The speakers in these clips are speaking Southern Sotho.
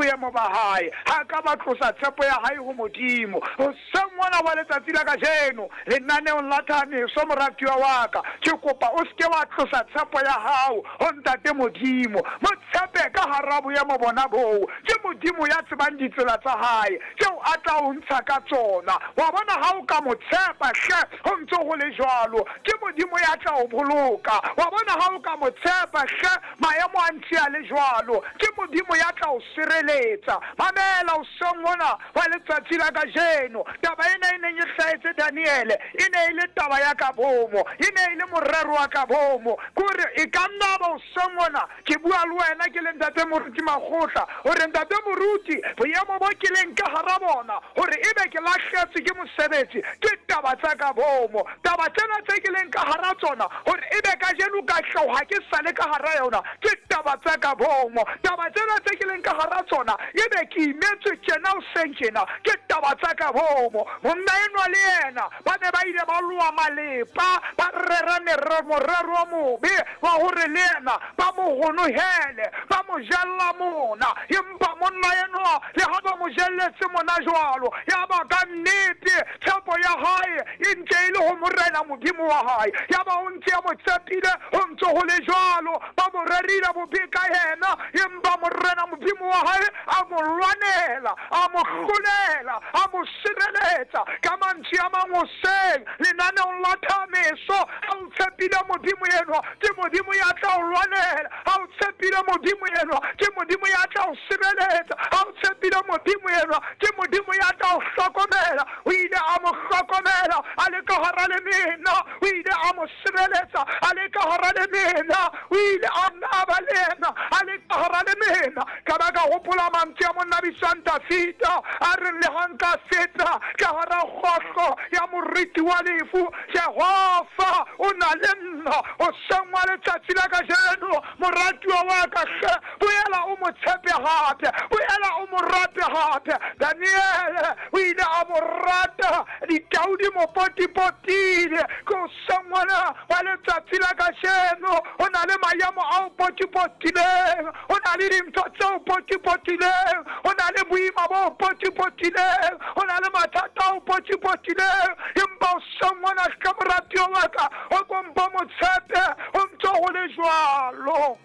boemo ba hae. Ha a ka ba tlosa tshepo ya hae ho Modimo. Hoseng mona wa letsatsi la kajeno, lenaneong la Thameso, moratuwa wa ka, ke kopa o se ke wa tlosa tshepo ya hao ho Ntate Modimo. Mo tshepe ka hara boemo bona boo. Ke Modimo ya tsebang ditsela tsa hae, tseo a tla o ntsha ka tsona. Wa bona, ha o ka mo tshepa, hle, ho ntse ho le jwalo, ke Modimo ya tla o boloka. Wa bona, ha o ka mo tshepa, hle, maemo a ntse a le jwalo, ke Modimo ya tla o sireletsa. Mamela, hoseng hona hwa letsatsi la kajeno, taba ena e neng e hlahetse Daniele e ne e le taba ya ka boomo, e ne e le morero wa ka boomo. Ke hore e ka nna ba hoseng hona ke bua le wena ke le Ntate Moruti Makgotla, hore Ntate Moruti, boemo bo ke leng ka hara bona, hore ebe ke lahletswe ke mosebetsi, ke taba tsa ka boomo. Taba tsena tse ke leng ka hara tsona, hore ebe kajeno ka hloha ke sa le ka hara yona, ke taba tsa ka boomo. Taba tsena tse ke leng ka hara tsona, ebe ke imetswe tjena hoseng tjena, ke taba tsa ka boomo. Monna enwa le yena ba ne ba ile ba loa malepa, ba rera morero o mobe wa hore le yena ba mo honohele, ba mo jella mona. Empa monna enwa, le ha ba mo jelletse mona jwalo, yaba ka nnete tshepo ya hae e ntse e le ho Morena Modimo wa hae. Yaba o ntse a mo tshepile, ho ntse ho le jwalo, ba mo rerile bobe ka yena, empa Morena Modimo wa hae a mo lwanela, a mo hlolela, a mo sireletsa. Ka mantswe a mang, hoseng lenaneong la thameso, ha o tshepile Modimo enwa, ke Modimo ya tla o lwanela. Ha o tshepile Modimo enwa, ke Modimo ya tla o sireletsa. Ha o tshepile Modimo enwa, ke Modimo ya tla o hlokomela. O ile a mo hlokomela a le ka hara lemena, o ile a mo sireletsa a le ka hara lemena, o ile a nna ba le yena a le ka hara lemena. Ka ba ka hopola mantswe a monna bitswang Dafida, a reng, le ha nka feta ka hara kgohlo ya moriti wa lefu, Jehova o na le nna. Hoseng wa letsatsi la kajeno, moratuwa wa ka, hle boela o mo tshepe hape, boela o mo rate hape. Daniele o ile a mo rata, ditau di mo potipotile. Ke hoseng hona wa letsatsi la kajeno, ho na le maemo a o potipotileng, ho na le dintho tse o potipotileng, ho na le boima bo o potipotileng, ho na le mathata a o potipotileng, empa hoseng hona hle moratuwa wa ka, o ko mpo mo tshepe, ho ntse ho le jwalo.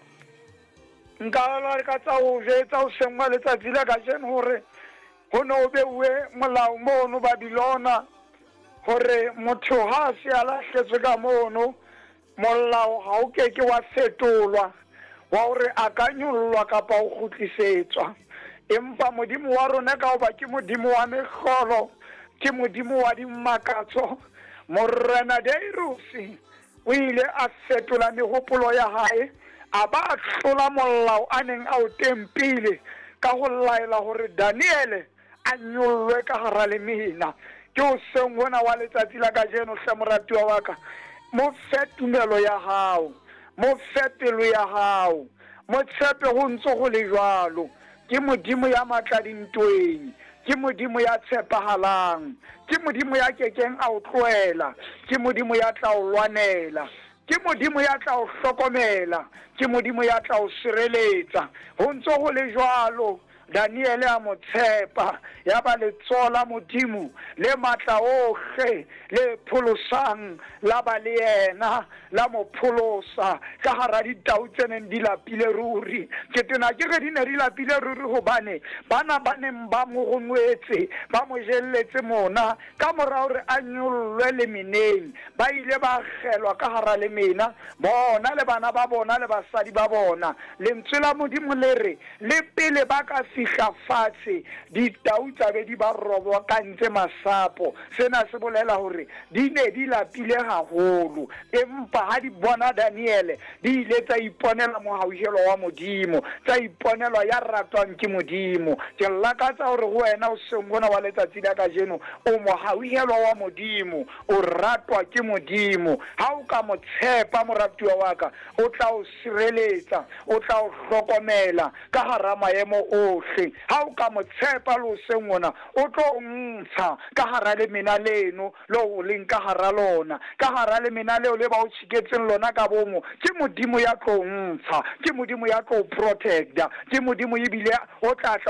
Nka lakatsa ho jwetsa hoseng wa letsatsi la kajeno hore ho ne ho beuwe molao mono Babilona hore motho ha a se a lahletswe ka mono, molao ha o ke ke wa fetolwa wa hore a ka nyollwa kapa ho kgutlisetswa. Empa Modimo wa rona, ka hoba ke Modimo wa mehlolo, ke Modimo wa dimakatso, Morena Dariuse o ile a fetola mehopolo ya hae, a ba a tlola molao a neng a o tempile ka ho laela hore Daniele a nyollwe ka hara lemena. Ke hoseng hona wa letsatsi la kajeno, hle moratuwa wa ka, mo fe tumelo ya hao, mo fe pelo ya hao, mo tshepe ho ntse ho le jwalo. Ke Modimo ya matla dintweng, ke Modimo ya tshepahalang, ke Modimo ya ke keng a o tlohela, ke Modimo ya tla o lwanela, ke Modimo ya tla o hlokomela, ke Modimo ya tla o sireletsa. Ho ntse ho le jwalo, Daniele a mo tshepa, yaba letsoho la Modimo le matla ohle le pholosang la ba le yena, la mo pholosa ka hara ditau tse neng di lapile ruri. Ke tena ke re di ne di lapile ruri, hobane bana ba neng ba mo ronwetse, ba mo jelletse mona, ka mora hore a nyollwe lemeneng, ba ile ba akgelwa ka hara lemena, bona le bana ba bona le basadi ba bona. Lentswe la Modimo le re, Le pele ba ka fihla fatshe, ditau tsa be di ba robokantse masapo. Sena se bolela hore di ne di lapile haholo. Empa ha di bona Daniele, di ile tsa iponela mohauhelo wa Modimo, tsa iponelwa ya ratwang ke Modimo. Ke lakatsa hore ho wena hoseng hona wa letsatsi la kajeno, o mohauhelwa wa Modimo, o ratwa ke Modimo. Ha o ka mo tshepa, moratuwa wa ka, o tla o sireletsa, o tla o hlokomela ka hara maemo ohle. Ha o ka mo tshepa le hoseng hona, o tlo o ntsha ka hara lemena leno leo o leng ka hara lona, ka hara lemena leo le ba o tjheketseng lona ka bomo. Ke Modimo ya tlo o ntsha, ke Modimo ya tlo o protecta, ke Modimo ebile o tla tla.